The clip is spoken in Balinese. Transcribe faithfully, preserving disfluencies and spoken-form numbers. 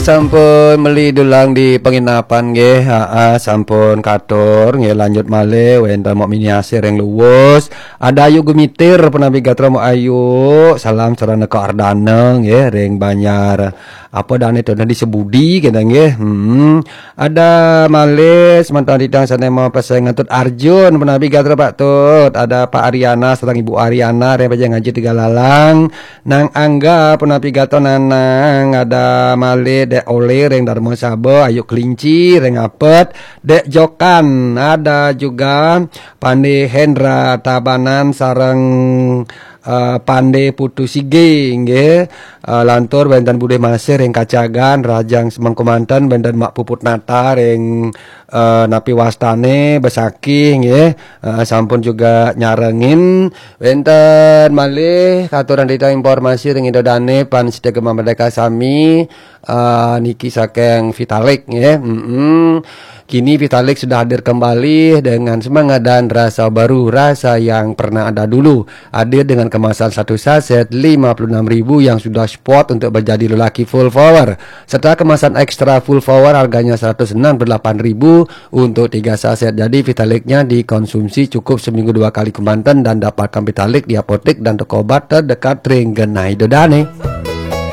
Sampun meli dulang di penginapan nggih. Ha, sampun katur nggih, lanjut malih wenten Mok Miniasih ring Luwus. Ada Ayu Gumitir, punapi gatra Mok Ayu. Salam sareng Eka Ardana nggih ring Banjar. Apa dane to di Sebudi kene nggih. Hmm. Ada malih semeton titiang sane mau pesen Tut Arjun, punapi gatra Pak Tut. Ada Pak Ariana sareng Ibu Ariana ring Pejeng Haji Tegalalang. Nang Angga, punapi gatra Nanang, ada malih Dek Ole ring Darma Saba, Ayu Kelinci ring Apet, Dek Jokan, ada juga Pande Hendra Tabanan sareng eh, Pande Putu Sige nggih. Eh, lantur wenten Budih Masih ring Kacagan, Rajang Semeng Kemanten, wenten Mak Puput Nata ring eh, napi wastane Besakih nggih. Eh, sampun juga nyarengin. Wenten malih katuran titiang informasi ring Ida Dane, pamiarsa Gema Merdeka sami, eh, niki saking Vitalik nggih. Mm-mm. Kini Vitalik sudah hadir kembali dengan semangat dan rasa baru, rasa yang pernah ada dulu. Hadir dengan kemasan satu saset lima puluh enam ribu yang sudah spot untuk menjadi lelaki full power, serta kemasan ekstra full power harganya seratus enam puluh delapan ribu untuk tiga saset. Jadi Vitaliknya dikonsumsi cukup seminggu dua kali kemanten dan dapatkan Vitalik di apotek dan toko obat terdekat ring genah Ida Dane.